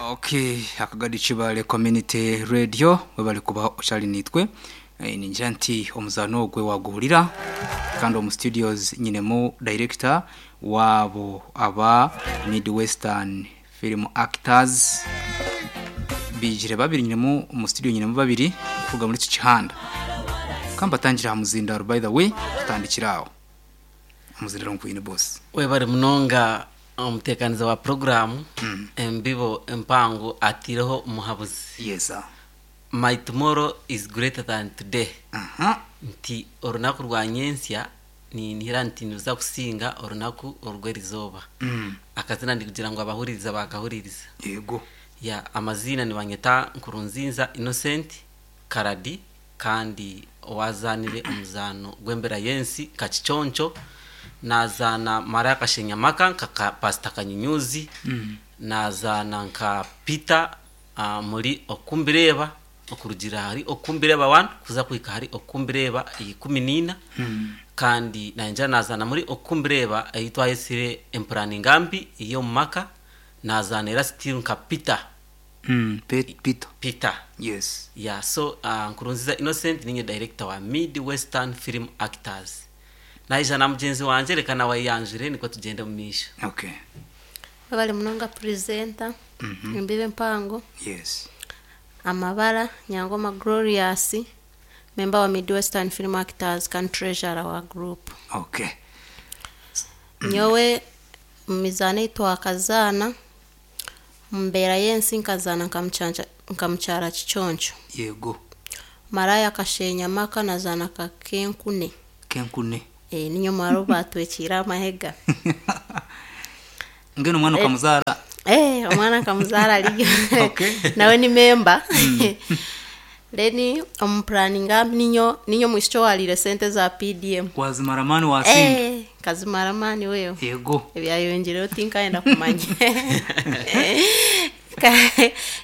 Okay, Akagadi Kibale Community Radio webale kuba okyali niitwe. Eh, ningira nti omuzaano ogwe waguhurira kandi omu studios nyinemu director waabo aba Midwestern Film Actors biijire babiri nyinemu omu studio nyinemu babiri kuruga muri eki kihanda. Kambatangire aha muzindaaro by the way tutandikire aho. Omuzindaro nkwine boss. Webare munonga omutekaniza wa puroguramu Embibo Empango ataireho omuhabuzi. Yes sir. My tomorrow is greater than today. Aha. Nti orunaku rwa nyentsya ninihira nti niruza kusinga orunaku orw'erizooba. Akazina ndikugira ngu abahuririza baakahuririza. Yego. Ya amaziina nibanyeta Nkurunzinza Innocent Karadi kandi owaazaanire omuzaano gw'embera y'ensi nka Kiconco, naazaana Mariah Kashenyamaka nka ka Pastor Kanyunyuzi, naazaana nka Peter omuri Okumbireeba okurugiirira ahari Okumbireeba one kuza kuhika ahari Okumbireeba 14 kandi naingira naazaana muri Okumbireeba ei twayetsire Empuraninga Mbi ey'omu maka, naazaana era still nka Peter. Peter. Peter. Yes. Yeah, so Nkurunziza Innocent ninye director wa Mid Western Film Actors. Naija na mugyenzi wangye reka nawe ayeyanjure nikwo tugyende omu maisho. Okay. Webale munonga presenter, embibo empango, Yes. amabara, Nyangoma Glorious, member wa Mid Western Film Actors kandi treasurer wa group. Okay. Nyowe omu mizaano ei twakazaana, Omu mbeera y'ensi nkazaana nka mukyara Kiconco. Yego. Maraaya akasheenya amaka nazaana nka Kenkune. Kenkune. Ee, ninye omuhara ou baatwekiire aha mahega. Mbwenu omwana okamuzaara? Ee, omwana nkamuzaara ariyo. Okay. Nawe ni memba. Then omu puraninga ninye omwishiki owaariire sente za PDM. Wazimara amaani waasinda? Ee, nkazimara amaani wewe. Yego. Ebyayongyeireho tinkayenda kumanya.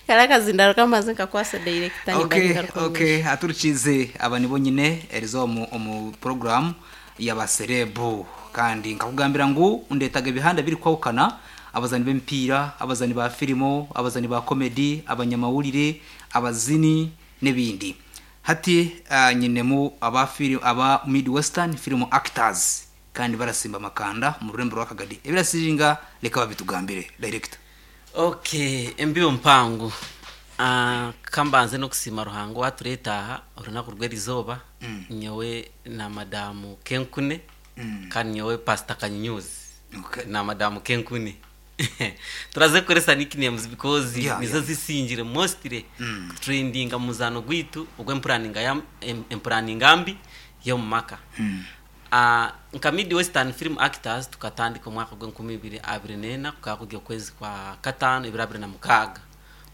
Kare akazindaro kamaze nkakwasa dayirekita nimba Okay, ningaruka omu okay, maisho. aturikiize aba nibo nyine eriizooba omu omu puroguraamu y'abasereebu. Kandi nkakugambira ngu ndeetaga ebihanda birikwahukana, abazaani b'emipiira, abazaani ba firimu, abazaani ba komedi, abanyamawurire, abazini n'ebindi. Hati nyinemu aba firi aba Midwestern Film Actors kandi barasimba amakanda omu rurembo rwa Kagadi. Ebirasiringa reka babitugambire. Director. Ok, embibo mpango. Ka mbanze n'okusiima Ruhanga owatureeta aha orunaku rw'erizooba, nyowe na Madam Kenkune kandi nyowe Pastor Kanyunyuzi Okay. na Madam Kenkune. Turaza kukoresa nicknames because nizo zisingire mostly kutrendinga omu muzaano gwaitu ogw'empuraninga ya empuraninga mbi y'omu maka. Nka Midwestern Film Actors tukatandika omwaka gw'enkumi ibiri abiri n'ena kukaba kuri okwezi kwa kataano ebiro abiri na mukaaga.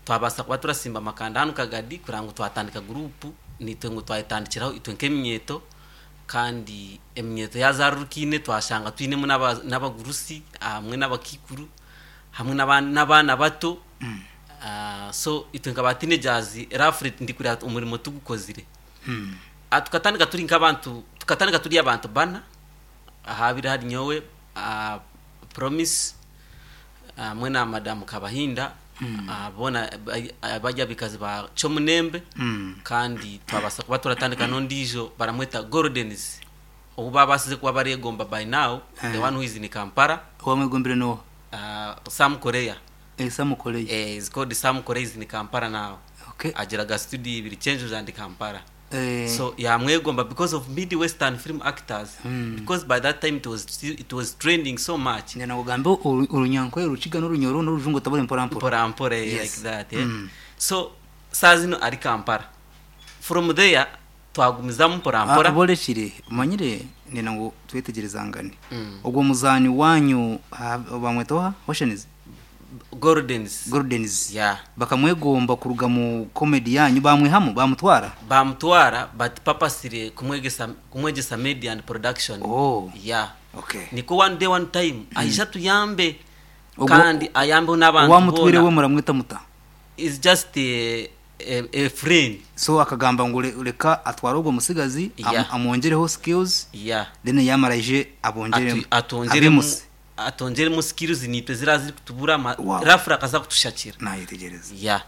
Twabaasa kuba turasimba amakanda hanu Kagadi kureba ngu twatandika guruupu naitwe ngu twayetandikiraho itwe nk'eminyeeto kandi eminyeeto yaazarurukaine twashanga twinemu n'abagurusi hamwe n'abakaikuru hamwe n'abaana bato so itwe nka ba teenagers roughly ndikureba omurimo tugukozire. Tukatandika turi nk'abantu tukatandika turi abantu bana ahabaire hari nyowe, Promise hamwe na Madamu Kabahinda boona bari abaikazi ba Kyomunembe kandi twabaasa kuba turatandika n'ondiijo baramweta Goldens ou baabaasize kuba bareegomba by now the one who is in Kampala. Owamwegombire n'oha? Sam Korea. Sam Korea. Is called Sam Korea is in Kampala now. Okay. Agiraga studio ibiri Kyenjojo and Kampala. Eh. So yamwegomba because of Midwestern film actors because by that time it was still, it was trending so much. Nyina kugambe orunyankore orukiga n'orunyoro n'orujungu otabure mpora mpora. Mpora mpora Yes. like that. Eh? So saa zino ari Kampala. From there twagumizamu mpora mpora. Aborekire omanyire nenda ngu twetegyerezangane. Ogwo muzaani wanyu bamweta oha? Oceans? Goldens. Goldens. Yeah. Bakamwegomba kuruga mu comedy yanyu bamwihamu bamutwara? Bamutwara but purposely kumwegyesa kumwegyesa media and production. Oh. Yeah. Okay. Nikwo one day one time aije atuyambe Ogwo- kandi ayambeho n'abantu Owamutwire we boona. muramweta muta? Is just a, a, a friend. So akagamba ngu reka atware ogwo mutsigazi Yeah. amwongyereho skills Yeah. then yamara aije abongyeremu Atu, atwongyeremu abimuse. atongyeremu skills niitwe ziriya zirikutubura Wow. rafura akaza kutushakira. Nayetegereza. Yeah.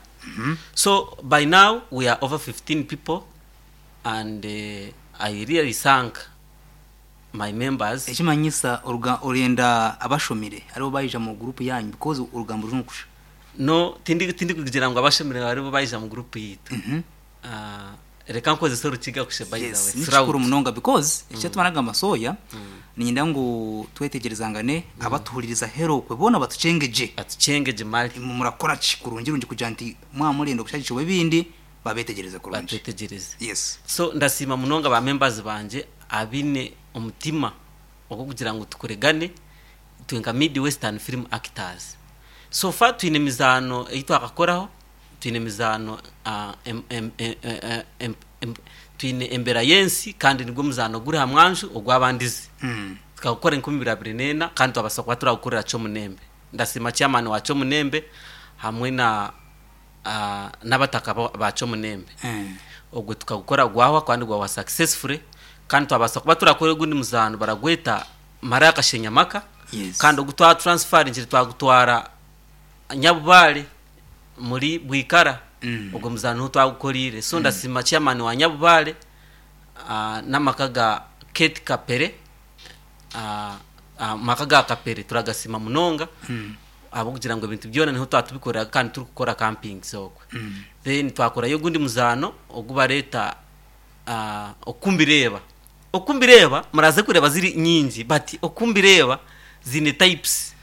So by now we are over 15 people and I really thank my members. Ekimanyisa oruga orenda abashomire aribo baija mu group yanyu because orugambo ruri kusha. No, tindi tindi kugira ngu abashomire baribo baija mu group yitu. Reka nkozese orukiga kushe by the Yes, way. ni kikuru Throughout. munonga because ekyatuma nagamba soya ninyenda ngu twetegerezangane abatuhuririza herokwe bona batucengeje. Atucengeje mali. Murakora ki kurungi rungi kugira nti mwamurenda okushagikirwa ebindi babetegereze kurungi. Batwetegereze. Yes. So ndasiima munonga ba members banje abine omutima ogw'okugira ngu tukoregane twe nka Mid Western Film Actors. So far twine emizaano ei twakakoraho, twine emizaano em, em, em, em, em, em, twine embera y'ensi kandi nigwo muzaano guri ha mwanju ogw'abandizi. Tukagukora 2024 kandi twabasa kuba turagukorera Kyomunembe. Ndasiima chairman wa Kyomunembe hamwe na n'abataka ba Kyomunembe. Ogwe tukagukora gwahwa kandi gwahwa successfully kandi twabasa kuba turakora ogundi muzaano baragweta Maraya Kashenyamaka. Yes. Kandi ogu twa transferingire twagutwara Nyabubare muri Bwikara. Ogwo muzaano niho twagukorire. So ndasiima chairman wa Nyabubare n'amaka ga Kate Kapere, amaka ga Kapere turagasima munonga ahabw'okugira ngu ebintu byona niho twatubikorera kandi turikukora campings okwe. Then twakorayo ogundi muzaano ogu bareeta okumbireba. Okumbireba muraze kureba ziri nyingi but okumbireba zine types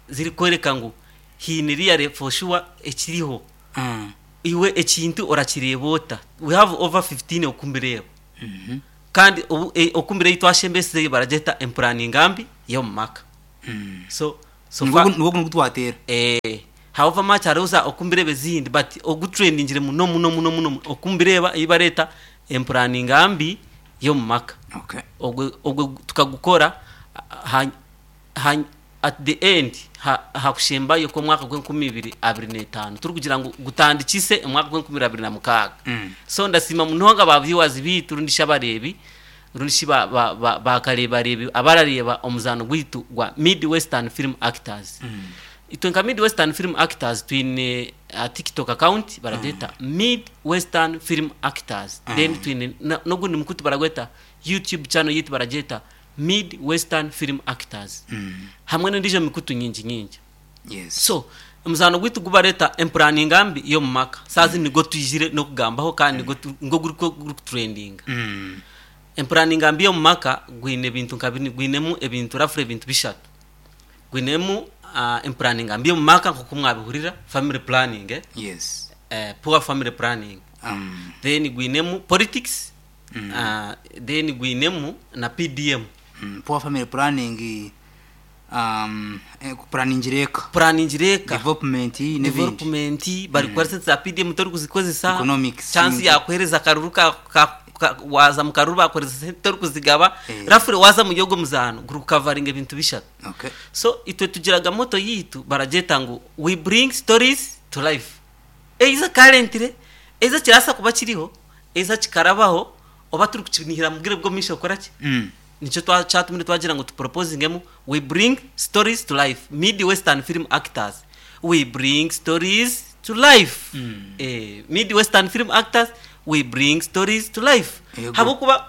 ziri kwereka ngu hiine real for sure ekiriho. Iwe ekintu orakireeba ota? We have over 15 okumbireba. Kandi obu okumbireba ei twashembesizeyo baragyeta empuraninga mbi y'omu maka. So so Nibwo far nibwo twatera. However much hariho za okumbireba ezindi but ogutrendingire muno muno muno muno okumbireba ei bareeta empuraninga mbi y'omu maka. Okay. Ogwe ogwe tukagukora ha, ha, at the end ha, hakushembayo kw'omwaka gw'e2025 turikugira ngu gutandikise omwaka gw'e2026. So ndasiima munonga ba viewers biitu rundi shi abareebi rundi shi ba, ba, ba, bakareebareebi abarareeba omuzaano gwaitu gwa Mid Western Film Actors. Itwe nka Mid Western Film Actors twine TikTok account baragweta Mid Western Film Actors. Then twine n'ogundi mukutu baragweta YouTube channel yitu baragweta Mid Western Film Actors. Hamwe n'endiijo mikutu nyingi nyingi. Yes. So omuzaano gwaitu gubareta empuraninga mbi y'omu maka. Saazi nigo twijire n'okugambaho kandi nigo nigo guriko gurikutrendinga. Empuraninga mbi y'omu maka gwine ebintu nka bini, gwinemu ebintu roughly ebintu bishatu. Gwinemu empuraninga mbi y'omu maka nk'oku mwabihurira family planning, eh? Yes. Poor family planning. Then gwinemu politics, then gwinemu na PDM. Poor family planning, kuplanningira eka. Planningira eka. Development n'ebindi. Development bari kukora sente za PDM tori kuzikozesa. Economics. Chance yakuhereza akaruru ka, ka, ka, waza mu karuru bakoreza sente tori kuzigaba. Roughly waza mu yogo muzaano guri kukavaringa ebintu bishatu. Okay. So itwe tugiraga moto yitu barageta ngu we bring stories to life. Eiza currently, eiza kirasa kuba kiriho, eiza kikarabaho oba turi kukinihira mu bwire bwo misho okora ki? Nikyo kyatumire twagira ngu tuproposingemu we bring stories to life. Mid Western Film Actors. We bring stories to life. Mid Western Film Actors we bring stories to life. Yego. Habwokuba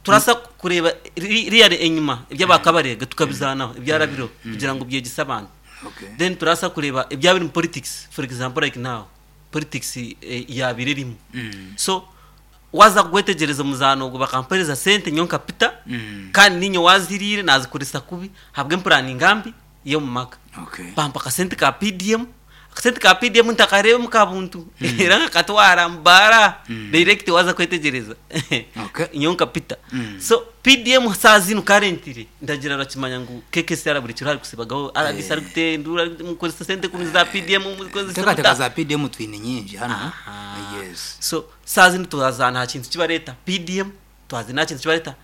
turasa kureba real enyuma eby'abakabarega tukabizanaho ebyarabiro kugira ngu byegise abantu. Okay. Then turasa kureba ebyabiri mu politics, for example like now politics yabire erimu. So waza kugwetegereza omuzaano ogwo bakampereza sente nyo nkapita kandi ninyo waziriire nazikoresa kubi habwe empuraninga mbi y'omu maka. Okay. Bampa akasente ka PDM, akasente ka PDM ntakareebemu ka buntu era nkakatwara mubara direct waza kwetegereza. Okay. Nyo nkapita. So PDM saa zinu currently ndagira rakimanya ngu KKCR buri kiro ari kusibagaho RDC ari kutendura mukozesa sente kumi za PDM mukozesa Tekateka muta. za PDM twine nyingi hano. Aha. Yes. So saa zinu twazana nta kintu kibareta PDM, twazana nta kintu kibareta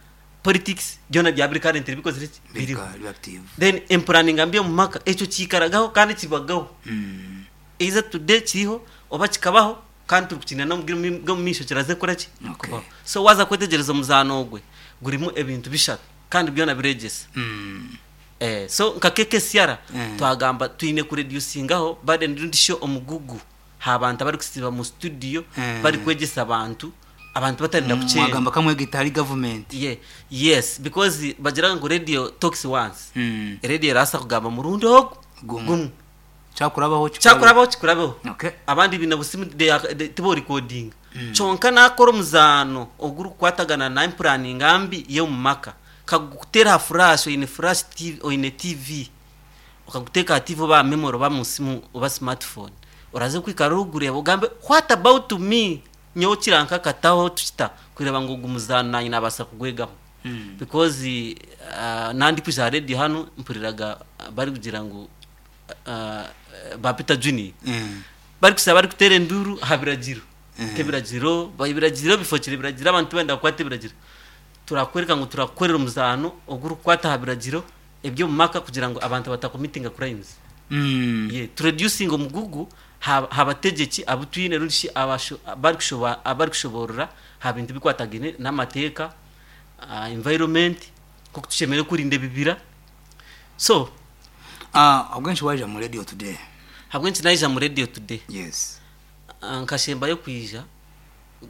politics byona bya buri currently bikozire ki? Biriho. Biri active. Then empuraninga mbi omu maka ekyo kiikaragaho kandi kibagaho. Either today kiriho oba kikabaho kandi turi kukinira n'omu bwire bw'omu maisho kiraze kukora ki? Okay. Kubaho. So waza kwetegereza omuzaano ogwe gurimu ebintu bishatu kandi byona biregyesa. Eh, so nka KKCR Mm. twagamba twine kureducingaho burden rundi sho omugugu ha bantu abarikusiba mu studio Mm. bari kwegyesa abantu abantu batarenda kukyenda Mwagamba kamwe gitari government. Yeah, yes, because bagira ngu radio talks once. Mm. Radio erasa kugamba murundi ogu Gumu. gumu. Kyakurabaho. Kyakurabaho kikurabeho. Okay. Abandi bine busimu tibo recording. Kyonka nakora omuzaano ogurikukwatagana na empuraninga mbi y'omu maka, kagutera aha flash, oine flash TV, oine TV, okaguteeka aha TV oba aha memory oba mu simu oba smartphone, oraza kwikara orikugureeba ogambe what about me nyowe kirankakataho tukita kureeba ngu ogu muzaano nanye nabaasa kugwegaho. Because nandi kwija aha radio hanu mpuriraga barikugira ngu ba Peter Junior barikusaba barikuteera enduru aha biragiro. Nk'ebiragiro, ebiragiro bifokire ebiragiro, abantu benda kukwata ebiragiro. Turakwereka ngu turakukorera omuzaano ogurikukwata aha biragiro eby'omu maka kugira ngu abantu batakomitinga crimes. Yeah, to reducing omugugu ha bategyeki abu twine rundi shi abarikushoboorora ha bintu bikwatagine n'amateeka, environment, nk'oku tushemereire kurinda ebibira. So Obwenshi waija mu radio today. Habwenki naija mu radio today? Yes. Nkashembayo kwija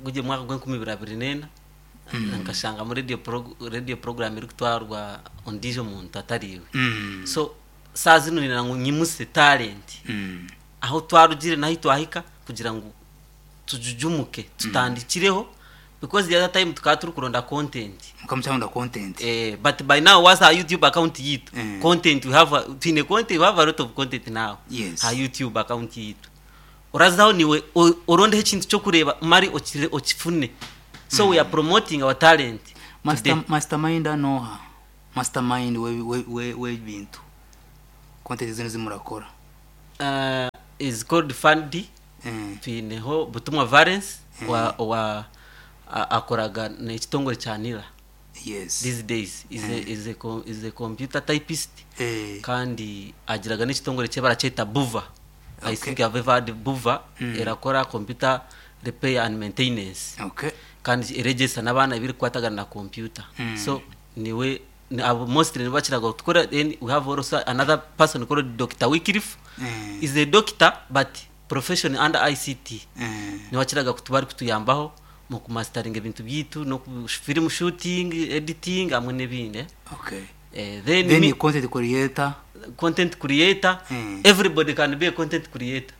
gugye mwaka gw'enkumi ibiri abiri n'ena, nkashanga mu radio program erikutwarwa ondiijo muntu atari iwe. So saa zino nina ngu nyimuse talent. Aho twarugire nahi twahika kugira ngu tujujumuke tutandikireho, because the other time tukaba turi kuronda content. Mukamucyabonda content. But by now was our YouTube account yitu. Content we have twine content, we have a lot of content now. Yes. Ha YouTube account yitu. Orazaho niwe orondeho ekintu kyo kureba mari okifune. So we are promoting our talent. Today. Mastermind anoha. Mastermind we bintu. Content zino zimurakora. Is called Fandi. Twineho Butumwa Valence wa akoraga n'ekitongore kya Nira. Yes. These days is a computer typist. Kandi agiraga n'ekitongore kye barakyeta Buva. I think I've ever heard Buva. Erakora computer repair and maintenance. Okay. Kandi eregesa n'abaana ebirikwatagana na computer. So niwe abo mostly nibakiraga tukora. Then we have also another person called Dr. Wycliffe. Is a doctor but profession under ICT. Niwakiraga kutubari kutuyambaho mu kumasteringa ebintu byitu no ku film shooting, editing hamwe n'ebindi. Okay. Then Then me, content creator. Content creator. Everybody can be a content creator.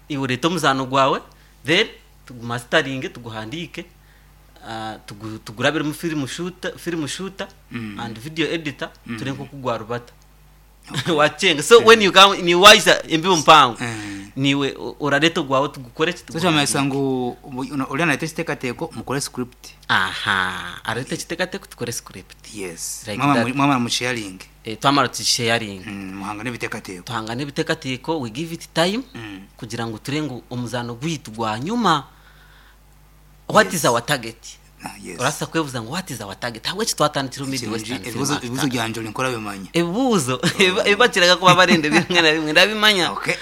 Iwe ureta omuzaano gwawe then tugumasteringe tuguhandike, tugurabiremu film shooter and video editor, ture nko kugwarubata wacenga. So when you come ni wise embibo mpango niwe urareta gwawe tugukore ki. So kyamanyisa ngu ori anareta ekiteekateeko mukore script. Aha, areta ekiteekateeko tukore script. Yes. Like Mwamara that. Mwamara mu sharing. Twamara tusharing. Muhanga n'ebiteekateeko. Tuhanga n'ebiteekateeko, we give it time kugira ngu ture ngu omuzaano gwitu gwa nyuma. What is our target? Yes. Urasa kwebuza ngu what is our target? Habweki twatandikira mu Mid Western Film Ebibuzo Actor? Ebibuzo byanje ori nkora bimanya. Ebibuzo ebibakiraga kuba barenda bimwe na bimwe ndabimanya. Okay.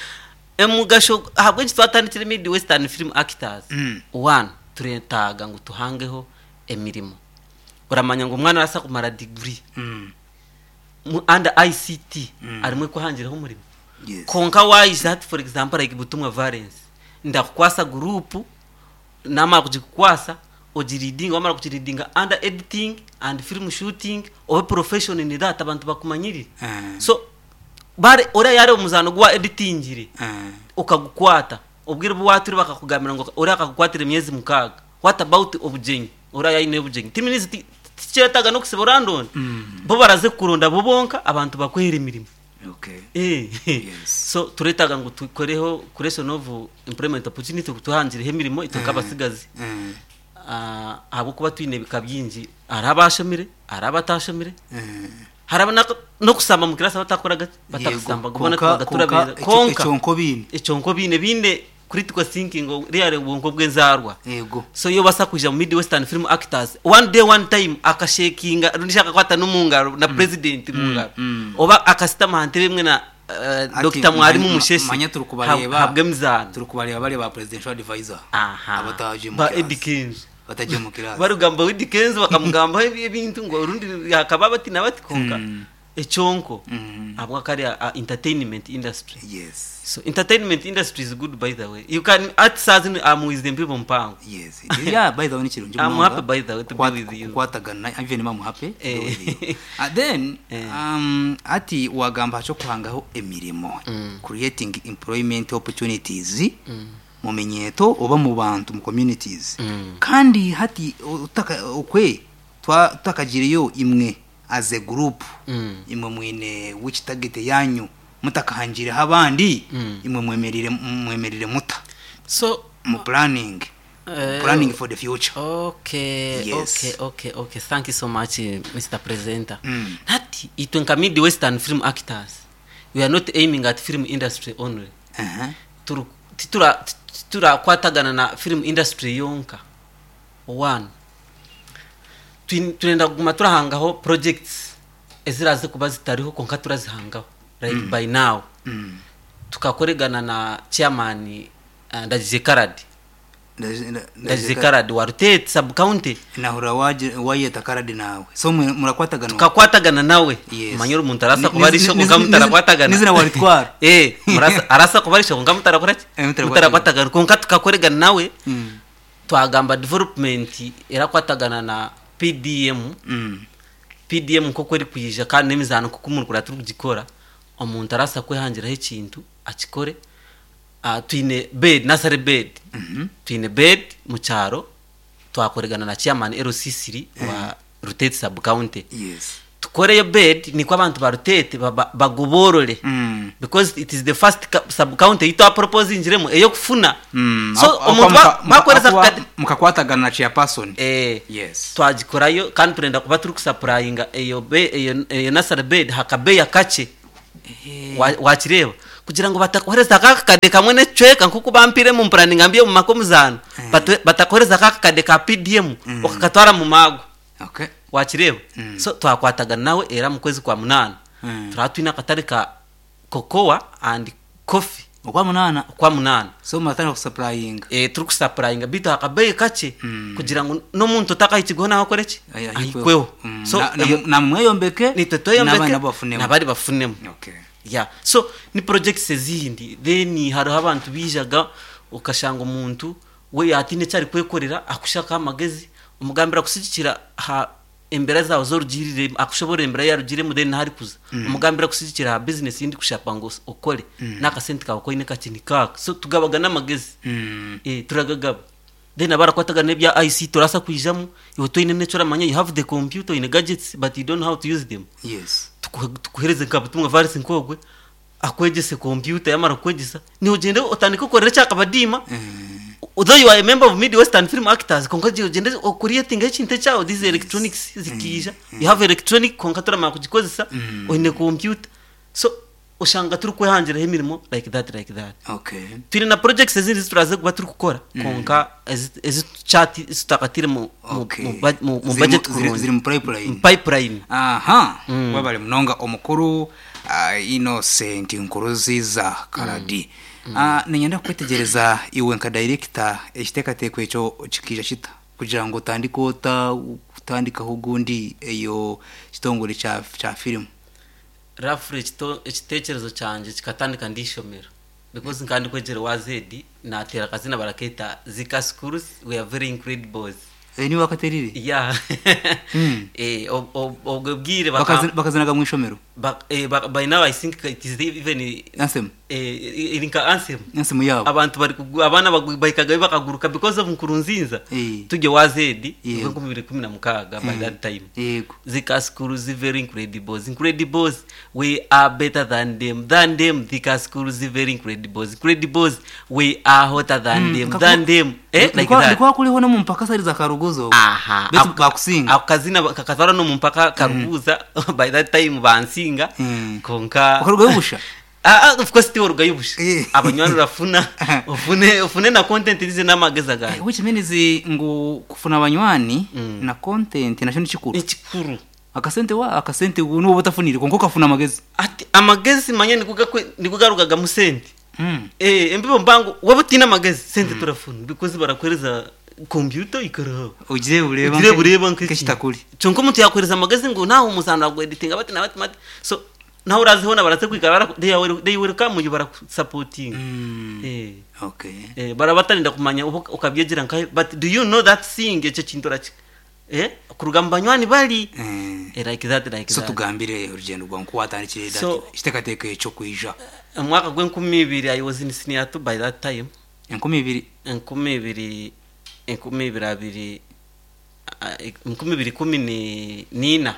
Emugasho habweki twatandikira Mid Western Film Actors? One, turetaga ngu tuhangeho emirimo. Uramanya ngo umwana arasa kumara degree mu under ICT arimwe kuhangiraho umurimo. Yes. Konka wise that for example like Butumwa Valence ndakukwasa group namara kugikukwasa ogireading, wamara kugireadinga under editing and film shooting obe profession in that abantu bakumanyirire. So bare ora yare omuzano gwa editingire ukagukwata obwire bwaturi bakakugambira ngo ora akakukwatira emyezi 6. What about obugenyi? Ora yayine obugenyi timinizi tikyetaga no kusiba orandonda. Bo baraze kuronda bo bonka abantu bakwera emirimo. Okay. Yes. So turetaga ngo tukoreho creation of employment opportunity kutuhangireho emirimo itoka abasigazi. Ahabwokuba twine ebika byingi, hari abashomire, hari abatashomire. Hari no kusamba mu kirasi abatakoraga batakusamba kubona Konka- tubaga turabera. Konka Konka. ekyonko bine. Ekyonko bine bine critical thinking real bwonko bw'enzarwa. Yego. So iyo basa kuja mu Mid Western Film Actors one day one time akashakinga rundi shaka kwata n'umungaro na president mungaro oba akasitama hante bimwe na Ati, Dr. Mwarimu Mushesi. Manya turi kubareba. Habwe mizano. Turi kubareba bari ba presidential advisor. Aha. Abataje mu Ba class. Eddy Kenzo. Bataje mu class. Barugamba Eddy Kenzo bakamugambaho ebintu ngo urundi hakaba bati na bati konka. Ekyonko ahabwa kariya a entertainment industry. Yes. So entertainment industry is good by the way. You can at saa zinu I'm with the people mpango. Yes. Yeah, by the way nikirungi I'm munonga. happy by the way to be Kukwat- with you. Kukwatagana even I'm happy to be Eh. with you. Then Eh. hati wagamba aha ky'okuhangaho emirimo creating employment opportunities mu minyeeto oba mu bantu mu communities kandi hati otaka okwe twa tutakagireyo imwe as a group imwe mwine which target yanyu mutakahangireho abandi imwe mwemerire mwemerire muta So mu planning planning for the future. Okay, Yes. okay. Thank you so much, Mr. Presenter. Hati itwe nka Midwestern film actors, we are not aiming at film industry only. Turu- Titura titurakwatagana na film industry yonka. One. Turenda kuguma turahangaho projects eziraze kuba zitariho konka turazihangaho right by now. Tukakoregana na chairman Ndagije Karadi. Ndagije Karadi wa Rutete sub county. Nahura wayeta Karadi nawe so murakwatagana. Tukakwatagana nawe. Yes. Manyoro omuntu arasa kuba ari isho konka mutarakwatagana. Nizina waritwara. Murasa arasa kuba ari isho konka mutarakora ki? Eh, mutarakwatagana. Mutarakwatagana konka tukakoregana nawe. Twagamba development erakwatagana na PDM. PDM nk'oku erikwija kandi n'emizaano nk'oku murikura turikugikora omuntu arasa kwehangiraho ekintu akikore. Twine bed nursery bed. Twine bed mu kyaro twakoregana na chairman LC3 wa Rutete sub county. Yes. Tukoreyo bed nikwo abantu ba Rutete bagoborore. Because it is the first sub county yitu proposingiremu eyokufuna. So omuntu bakoreza Mukakwatagana na chairperson. Yes. Twagikorayo kandi turenda kuba turi kusupplyinga eyo eyo nursery bed hakabeya kakye. Wakireba kugira ngu batakohereza akakade kamwe n'ekicweka nk'oku bampire mu mpurani ngambi omu maka omuzaano. Batakohereza akakade ka PDM okakatwara mu maago. Okay. Wakireba? So twakwatagana nawe era mu kwezi kwa 8. Turaba twine akatare ka cocoa and coffee. Okwa 8? Okwa 8. So muratandika kusupplyinga. Turi kusupplyinga bitu akabeyi kakye kugira ngu n'omuntu otakahikirweho nawe akore ki? Aye, ahikweho. Ahikweho. So, eyo Namweyombeke, nitwe tweyombeke, n'abandi nabo bafunemu. N'abandi bafunemu. Okay. Yeah. So ni projects ezindi then hariho abantu bijaga okashanga omuntu we atine eki arikwekorera akushaka amagezi omugambira kusigikira ha embera zawe zorugirire akushobora embera yarugiremu then nahari kuza omugambira kusigikira ha business yindi kushapa ngu okore n'akasente kawe koine kakye nikaka. So tugabaga n'amagezi. Turagagaba then abarakwatagana n'ebya IC turasa kwijamu iwe toine n'ekyo oramanya, you have the computer in gadgets but you don't know how to use them. Yes. Tukuhereze nka butumwa virus nkogwe akwegese computer yamara kwegesa ni ugende otandike ukorera cyakabadima. Although you are a member of Midwestern Film Actors, konka ugende creating ekintu kyawe, these electronics zikija. You have electronic konka turamara kugikozesa oine computer. So ushanga turi kwehangiraho emirimo like that, like that. Okay. Turi na projects ezindi turaze kuba turi kukora konka ezi chat zitakatire Okay. mu Ziri budget kurungi. Ziri mu pipeline. Mu pipeline. Aha. Wabale munonga omukuru Innocent Nkuruziza Karadi. Ninyenda kwetegereza iwe nka director ekiteekateeko ekyo kikija kita kugira ngu otandike ota kutandikaho ogundi eyo kitongore kya film. Roughly ekiteekerezo kyangye kikatandika ndishomero because nkandi kwegyera wa Z natera akazina baraketa Zika Schools, we are very incredible. Ni wakaterire? Yeah. Obwo bwire Bakazinaga mu ishomero? By now I think it is even Anthem. Iri nka anthem. Anthem yabo. Abantu bari abana bahikaga bakaguruka because of Nkurunziza. Tujye wa Z, ubwo nkumi bibiri kumi na mukaga by that time. Yego. Zika Schools very incredible. Incredibles, we are better than them. Than them, Zika Schools very incredible. Incredibles, we are hotter than them. Than them. Like that. Ndikuwa kuriho no mu mpaka sari za Karuguzo. Aha. Betu bakusinga. Ako kazina kakatwara no mu mpaka Karuguza. By that time bansinga. Konka. Ukarugayo busha? Of course tiwo rugayo busha. Abanywani urafuna. Ufune na content izi n'amageza gawe. Which means ngu kufuna abanywani na content nasho ni kikuru. Ni kikuru. Akasente wa akasente nubo batafunire konko kafuna amagezi. Ati amagezi manye nikugarukaga mu sente. Embibo mbangu waba utina amagezi sente turafuna because barakwereza Computer ikaraho. Ogire bureeba Ogire bureeba nk'eki. nk'ekitakuri. Kyonka omuntu yakuhereza amagezi ngu nawe omuzaano agweditinga bati na bati bati. So nawe oraziho na baraze kwikara bara they will they will come you barakusapotinga. Eh. Okay. Eh, baraba batarinda kumanya oba okabyegyera nkahe but do you know that thing ekyo kintu oraki eh kuruga mu banywani bari Eh. eh, like that like So that. tugambire orugendo rwawe nku watandikire that So- ekiteekateeko ekyo kwija. Omwaka gw'enkumi ibiri I was in senior 2 by that time. 2000. Enkumi ibiri enkumi ibiri abiri ah, 2014.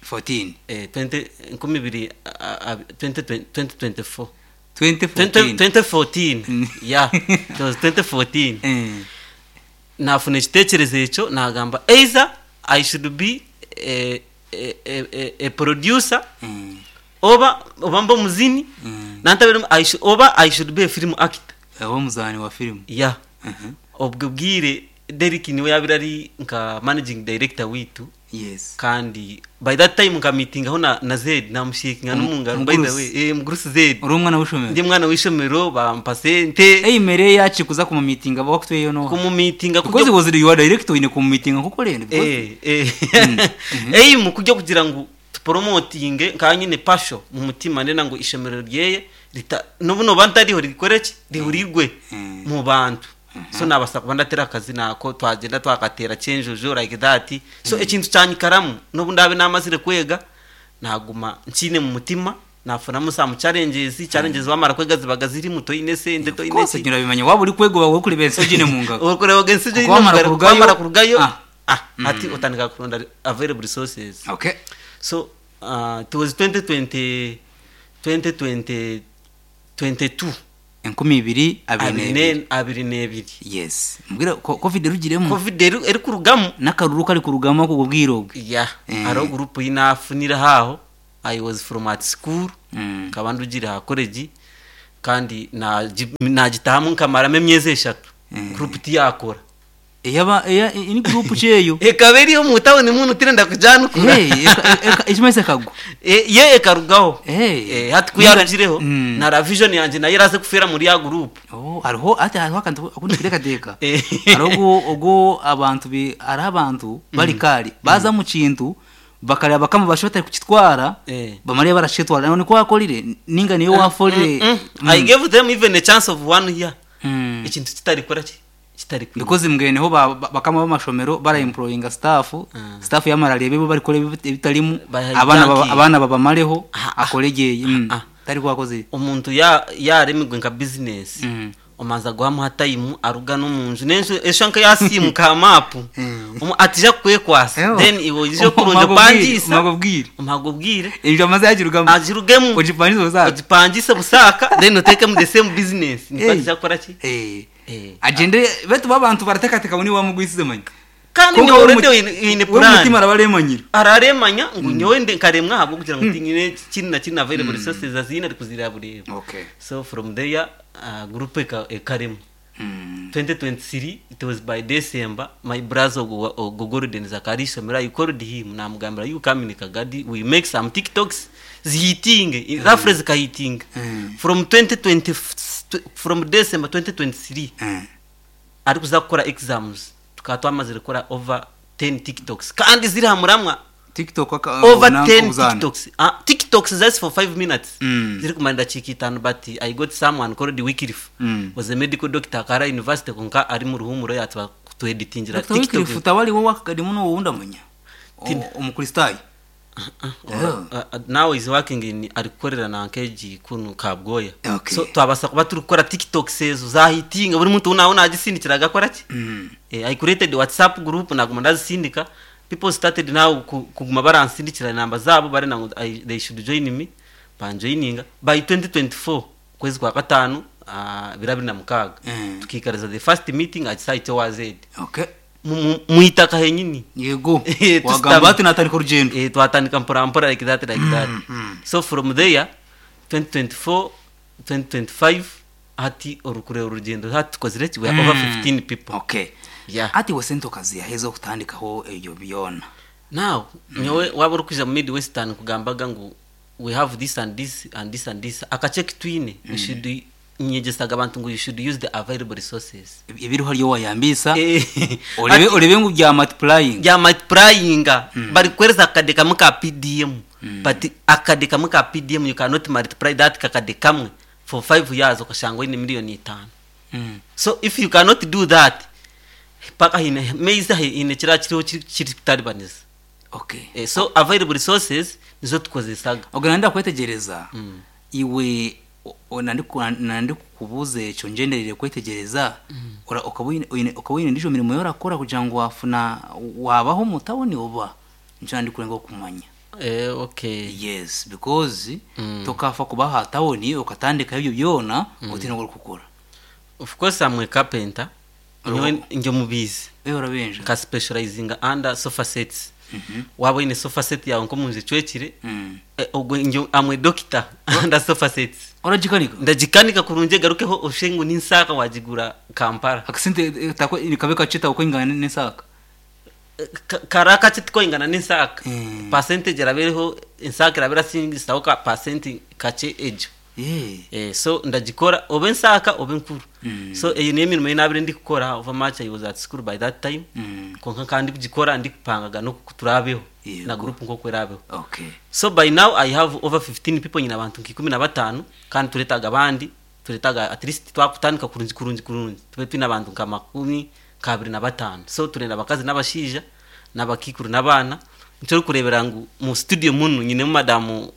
14. Eh, 20 enkumi ibiri 20 2024. 2014. 2014, yeah, it was 2014. Nafuna ekitekerezo ekyo nagamba either I should be a producer oba mba omuzini nantabire oba I should be a film actor. Oba omuzaani wa firimu. Yeah. Obwo bwire Derek niwe yabire ari nka managing director witu. Kandi by that time nka meetingaho na Zed namushakinga n'omungaro by the Mugurusi. way, eh, mugurusi Zed. Ori omwana w'ishomero. Ndi mwana w'ishomero bampa sente. Eyimere yaki kuza kumumitinga bakutweyo no. Kumumitinga Because was your director ine kumumitinga nkuko rero. Eh eh eyi mu kujya kugira ngu tupromotinge nka nyine passion mu mutima ndena ngo ishomero ryeye rita n'ubu noba ntariho rikore ki rihurirwe mu bantu. So nabasa kuba ndatera akazi nako twagenda twakatera cyenjojo like that. So ekintu cyanyikaramu n'ubu ndabe namazire kwega naguma nkine mu mutima nafunamu some challenges wamara kwega zibaga ziri muto ine sente to Of ine course nyura waba uri kwega wawe kureba ensogi ne mu ngaro. Ukureba ensogi Kuko wamara ne mu ngaro, kurugayo- wamara kurugayo Ah. ah ati utandika kuronda available resources. So it was 2020 2020 22. 2022. 22. Yes. Mbwira Covid erugiremu. Covid eri kurugamu. N'akaruru kari kurugamu ako bwiro bwe. Yeah. Hariho group yinafunira haho I was from at school. Nkaba ndugira ha college kandi nagitahamu nkamaramo emyezi 3. Group tiyakora. Eyaba eya ini group cyeyo. Ekaba eriyo mu town muntu tirenda kujanukura. Hey, ekimese kagwa. Ye ekarugaho. Hey. Hati kuyarugireho Mm. na vision yanje nayo iraze kufera muri ya group. Oh, hariho ati hariho akantu akundi kutekateka. Eh. Hariho ogo abantu bi ari abantu bari kari baza mu kintu bakareba bakama basho batari kukitwara bamare barashitwara none ko wakorire ninga niyo waforire. I gave them even a chance of one year. Ikintu kitari kora ki kitari kwiga. Because mbweneho bakama b'amashomero bara employinga staff staff yamarariye bo bari kore ebitarimu Baha abana junkie. abana babamareho Ah, ah. akoregeye Ah. tari kwakoze. Omuntu ya yaremigwe nka business omanza guhamuha time aruga no munju nenju eshanka yasimuka ha map atija kwekwasa then iwe ije kurunda pangisa magobwire umagobwire ibyo amaze yagirugamo agirugemu ugipangisa busaka ugipangise busaka then uteke mu the same business niko Eh. atija kora ki Eh. Eh. Agende betu babantu baratekateka ni wamugwisize manya kandi ni Konka we already in we plan mutima arabaremanyira araremanya ngo nyowe nde nkaremwa habwo kugira ngo tinyine kini na kini available resources azina ari kuzira bureba. Okay. So from there group ekarema 2023, it was by December, my brother ogo Golden Zakari Somera, I called him namugambira you come in Kagadi, we make some TikToks zihitinge roughly zikahitinga from 2020 from December 2023 ari kuza gukora exams tukaba twamazire gukora over 10 TikToks kandi ziri hamuramwa. TikTok Over na- 10 obuzana. TikToks, ah, TikToks that's for 5 minutes ziri kumara ndakika 5 but I got someone called Wycliffe was a medical doctor akara university konka ari mu ruhumuro yatwa kutueditingira. Dr. Wycliffe utawali wowe akadimu no wundamanya omukristayo. Now is working in ari gukorera na nkeji kunu kabgoya. Okay. So twabasa kuba turi gukora TikToks ezo zahitinga buri muntu nawe nagisindikira agakora ki eh, I created WhatsApp group naguma ndazisindika, people started now kuguma baransindikira namba zabo bari nango they should join me, banjoininga by 2024 kwezi kwa gatanu 2026 tukikariza the first meeting at site was it Okay. Muitaka henyini. Yego. Eh, wagamba ati natandika urugendo. Eh, twatandika mpora mpora like that like that. So from there 2024 2025 hati orukureba urugendo hati tukozire ki we are over 15 people. Okay. Yeah. Ati wesente okaziyaheza okutandikaho ebyo byona. Now nyowe waba uri kuja mu midwestern kugambaga ngu we have this and this and this and this akacheki twine we should Nyegyesaga abantu ngu you should use the available resources. Ebiriho hariyo wayambiisa orebe orebe ngu bya multiplying. Bya multiplyinga barikukuhereza akakade kamwe ka PDM but akakade kamwe ka PDM you cannot multiply that kakade kamwe for 5 years okashanga oine million itano. So if you cannot do that paka haine maize haine ekiraba kiriho kirikutaribaniza. Okay. So available resources nizo tukozesaga. Ogwo nanda kwetegyereza iwe nandikukubuuza ekyo ngyendereire kwetegyereza okaba oine endiijo mirimo ei orakora kugira ngu wafuna wabaho omu tawuni oba? Nikyo nandikurengaho kumanya. Okay. Yes because tokafa kuba aha tawuni okatandikaho ebyo byona otiine oku orikukora. Of course am a carpenter, nyowe ndi omubiizi. Eeh orabenja. Nka specializinga under sofa sets. Waaba oine sofa set yaawe nk'omunju ecwekire, ogwo ndi am a doctor under sofa sets. Oragikanika? Ndagikanika kurungi egarukeho oshushe ngu ni nsaaka waagigura Kampala. Akasente nikabe kakye takwingana n'ensaaka? Kari akakye tikoingana n'ensaaka. Percentage eraba eriho, ensaaka eraba erasingisaho ka percent kakye egyo. So ndagikora oba ensaaka oba enkuru. So eyo niyo emirimo ei naabire ndikukora however much I was at school by that time, kwonka nkaba ndikugikora ndikupangaga n'oku turaabeho na group nk'oku eraabeho. So by now I have over 15 people, nyine abantu nka 15 kandi tureetaaga abandi, tureetaaga at least twakutandika kurungi kurungi kurungi tube twine abantu nka makumi nk'abiri na bataano. So turenda abakazi n'abashaija n'abakaikuru n'abaana. Nikyo orikureebera ngu mu studio munu nyinemu madam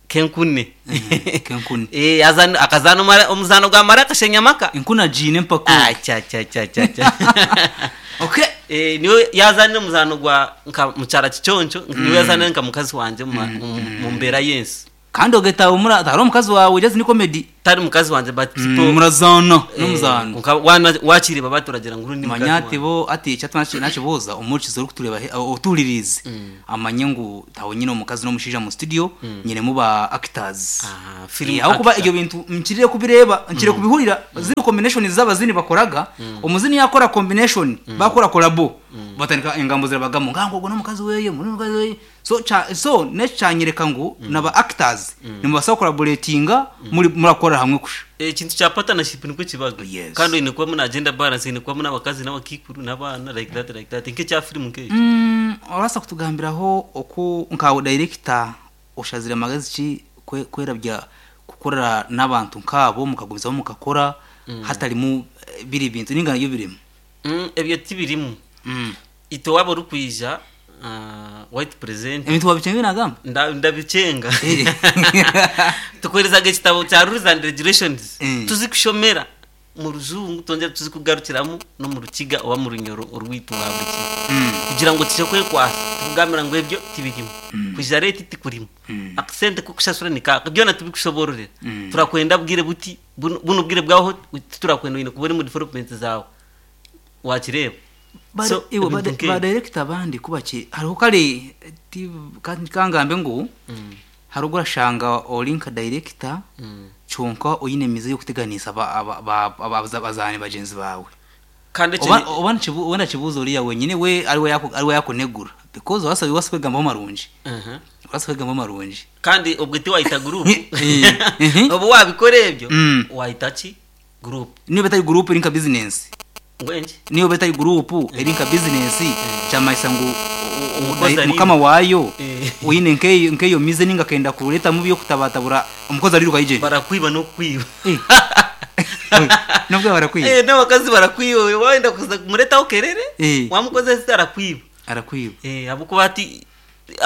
Kenkune. Kenkune. Eh, azana akazaana omara omuzaano gwa mara akashenya amaka. Enkune agiine empaka Ah, cha cha cha cha cha. Okay. Eh, niwe yazaanire omuzaano gwa nka mukyara Kiconco, niwe yazaanire nka mukazi wangye omu mu mbeera y'ensi. Kandi ogetaho mura tari omukazi waawe just ni comedy. Tari mukazi wangye but people Murazaana Eh, n'omuzaano. kwonka waana wakireeba baturagira ngu ni mukazi Manya ati wangye. bo ati eki ati nakibuuza omuhurikizi orikutureeba otuhuririize amanye ngu tawe nyine omukazi n'omushaija mu studio nyinemu ba actors. Ah, film Ahabw'okuba actor. ebyo bintu nkirire kubireeba nkirire kubihurira ziri combination z'abazini bakoraga omuzini yakora combination bakora collabo batandika engambo zirabagamu ngangu ogwo n'omukazi weye ngu n'omukazi weye so kya so n'eki kyanyereka ngu naba actors nimubaasa kucollaboratinga muri murakorera hamwe kusha. Ekintu kya partnership nikwo kibaga. Yes. Kandi oine kubamu na gender balance, oine kubamu n'abakazi n'abakaikuru n'abaana like that like that nk'ekya firimu nk'ekyo. Orabaasa kutugambiraho oku nkawe dayirekita oshazire magezi ki kwerabya kukorera n'abantu nk'abo mukagumizamu mukakora hatarimu biri bintu ninga nabyo birimu? Ebyo tibirimu. Itwe waaba orikwija white presenter. Ebintu wabikyenga ebi naagamba? Ndabikyenga. Tukuheerezaga ekitabo kya rules and regulations tuzikushomera omu rujungu twongyere tuzikugarukiramu n'omu rukiga oba omu runyoro orwaitu rwa buri kiro kugira ngu tukye kwekwasa tukugambira ngu ebyo tibirimu, kwija reeti tikurimu, akasente k'okushashura ni kaaka, byona tubikushoboororera. Turakwenda bwire buti, bunu obwire bwaho titurakwenda oine kuba ori omu development zaawe. Wakireeba? So, Iwe ebintu nk'ebyo. ba director abandi ku baki hariho kare ti kangambe ngu hariho obu orashanga ori nka director kyonka oine emize y'okuteganisa abazaani bagyenzi baawe. Kandi ekyo Oba ni- oba nikibu oba ndakibuuza oriya wenyine we ariwe yaku ariwe yakunegura because orabaasa orabaasa kwegambaho marungi. Orabaasa kwegambaho marungi. Kandi obwe tiwayita group. Eh. Obu wabikora ebyo, wayita ki? Group. Niyo eba etari group eri nka business. Mbwenu ki? Niyo eba etari group eri nka business kyamanyisa ngu Omukozi ariiruka. mukama waayo Eh. oine nkeyo nkeyo mize ninga akenda kuretamu ebyokutabatabura omukozi ariiruka aije. Barakwiba n'okukwiba. Eh. Nobwo barakwiba. Eh, n'abakazi barakwiba wayenda kuza kumuretaho kerere, Eh. wamukozesa arakwiba. Arakwiba. Eh, ahabw'okuba hati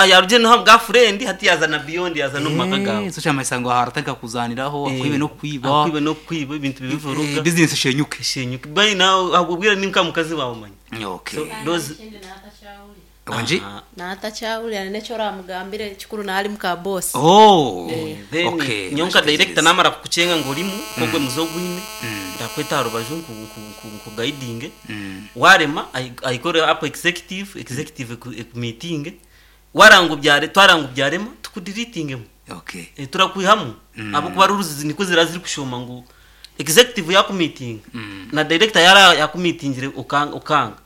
yarugire n'aha bwa furendi hati yaaza na beyond yaaza n'omu maka gaawe. So kyamanyisa ngu aha aratandika kuzaniraho akwibe n'okukwiba. Akwibe n'okukwiba ebintu bibivuruga. Bizinesi eshenyuke. Eshenyuke. By now obwo bwire ni nka mukazi waawe omanya. Okay. So those Ekindi naatakyahurira. Wangi? Naatakyahurira n'eki oramugambire ekikuru naari muka boss. Oh. Then Okay. nyowe nka director namara kukukyenga ngu orimu nk'ogwo muze ogwine ndakweta aha rubaju nku nku nku nkugayidinge. Warema I I call up executive, executive eku ekumiitinge waranga obyare twaranga obyarema tukudiriitingemu. Okay. Eh, turakwihamu ahabw'okuba rules nikwo ziraba zirikushooma ngu executive yakumiitinga na director yaara yakumiitingire okanga okanga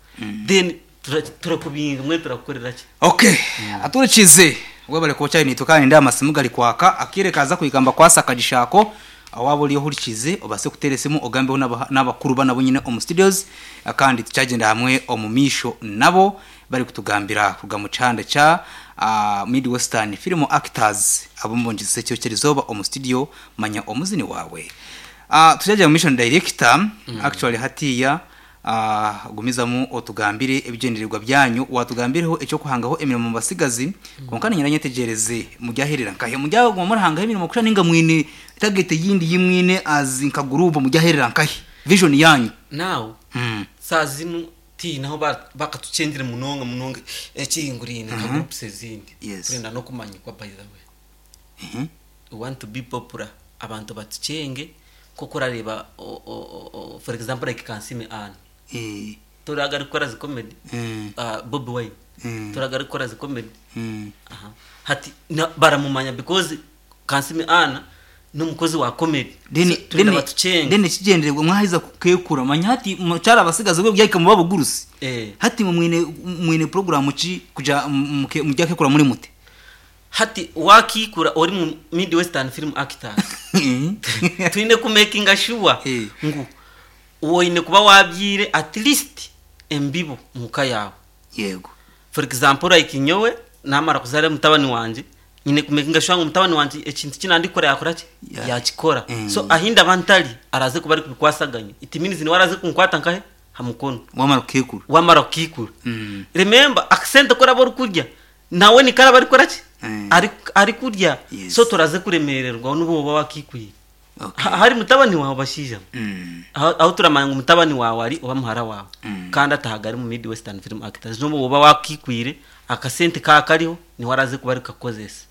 then tura turakubinga mbwenu turakukorera ki? Okay, aturikize webale kuba okyari naitwe kandi nindeeba amasimu gari kwaka akaire kaaza kuhika nibakwasa akagisha ako. Waaba ori ohurikiize obaase kuteera esimu ogambeho n'abakuru banu abu nyine omu studios kandi tukyagyenda hamwe omu maisho nabo barikutugambira kuruga mu kihanda kya Mid Western Film Actors abu mbongyesize ekiro ky'erizooba omu studio manya omuzini waawe. Tukyagya omu maisho na director actually hatiiya Gumizamu otugambire ebigyendererwa byanyu. Waatugambireho eky'okuhangaho emirimo omu batsigazi, kwonka niinyenda nyetegyereze muryaherera nkahi? Muryaguma murahangaho emirimo kusha nainga mwine target eyindi ei mwine as nka guruupu muryaherera nkahi? Vision yaanyu. Now saaha zinu tihaine ahu bakatukyengire munonga munonga ekihinguraine nka groups ezindi. Turenda n'okumanyikwa by the way. We want to be popular abantu batukyenge nk'oku orareeba for example like Kansiime Anne toreeba arikukora zi comedy, Bobi Wine toreeba arikukora zi comedy, hati baramumanya because Kansiime Anne n'omukozi wa comedy so twenda batukyenge. Then ekigyendererwa mwaheza kukekura manya hati mukyari abatsigazi obwe buryahika mube abagurusi hati imwe mwine mwine puroguramu ki kugira muryakekura muri muti? Hati wakiikura ori mu Mid Western Film Actors, twine ku makinga sure ngu oine kuba wabyaire at least embibo omuka yaawe. Yego. For example like nyowe namara kuzaara mutabani wangye, nyine ku makinga sure ngu mutabani wangye ekintu eki nandikukora yakora ki? Yakikora. So ahi ndaba ntari, araaze kuba arikubikwasaganya. It means niwe araaze kunkwata nkahe? Ha mukono. Wamara kukiikura. Wamara kukiikura. Remember akasente aku oraba orikurya, Nawe nikwo araba arikukora ki? Arikurya. So toraze kuremererwa n'obu oba wakiikwire. Ahari mutabani waawe bashaija mwe, ahu turamanya ngu mutabani waawe ari oba muhara waawe kandi atahaga ari mu Mid Western Film Actors, n'obu oba wakiikwire, akasente kaaba kariho niwe araze kuba arikukakukozesa.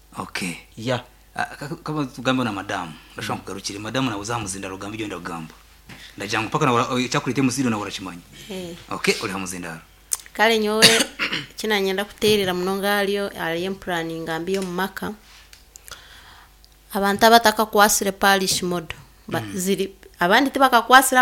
Yeah. Tugambeho na madamu. Ndashusha nkugarukire. Madamu nawe oze aha muzindaaro ogambe ebi orenda kugamba. Ndagira ngu mpaka nawe ekyakureeta omu studio nawe orakimanya. Okay, ori aha muzindaaro. Kare nyowe eki nanyenda kuteerera munonga ahari empuraninga mbi y'omu maka, abantu abatakakwasire parish model, ziri abandi tibakakwasire.